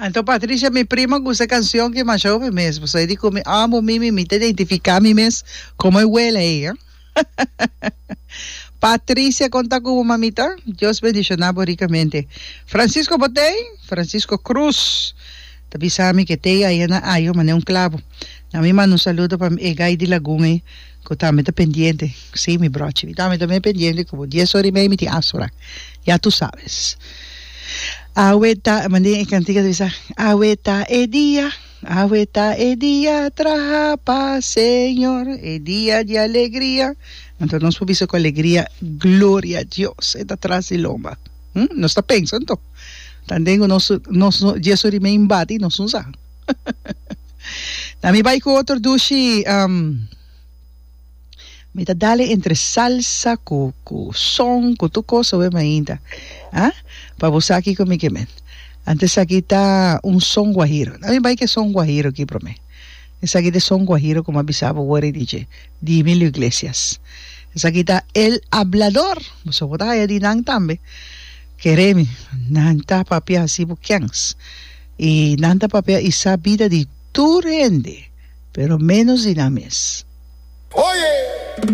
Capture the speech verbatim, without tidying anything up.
Anto Patricia, mi prima gusta e cancion ki masha hopi mes. Pasobra e di cu mi amo mi, mi ta identifica mi mes como e wela ey. Patricia con ta cu bo mamita? Dios bendiciona bo ricamente. Francisco bo t'ey? Francisco Cruz ta bisa mi ke t'ey aya na Ayo mane un clabo. Na mi manda un saludo pa e guy di Lagun ey cu tambe ta pendiente. Si mi brochi, mi tambe ta me pendiente cu bo dies ora y mei mi tin afspraak. Ya tu sabes. Awe ta, mane e cantica ta bisa, Awe ta e dia, awe ta e dia, traha pa Señor, e dia di alegria. Anto nos por bisa cu alegria, Gloria a Dios, e ta tras di lomba. Hm, nos ta pensa anto. Tanden cu nos, nos no, dies ora y mei bati, nos no sa. Na mi bai cu otro dushi, um, mi ta dale entre salsa cu cu son cu tur cos awe mainta ah pa bo sa kico mi ke men. Anto esaki ta un son guajiro. Na mi bai ke son guajiro aki prome. Esaki ta e son guajiro cu mi a bisa bo wor e dije di Emilio Iglesias. Esaki ta El Hablador. Boso por ta haya di nan tambe. Kere mi, nan ta papia haci bo kens. Y nan ta papia y sa bida di tur hende, pero menos di nan mes. Oye!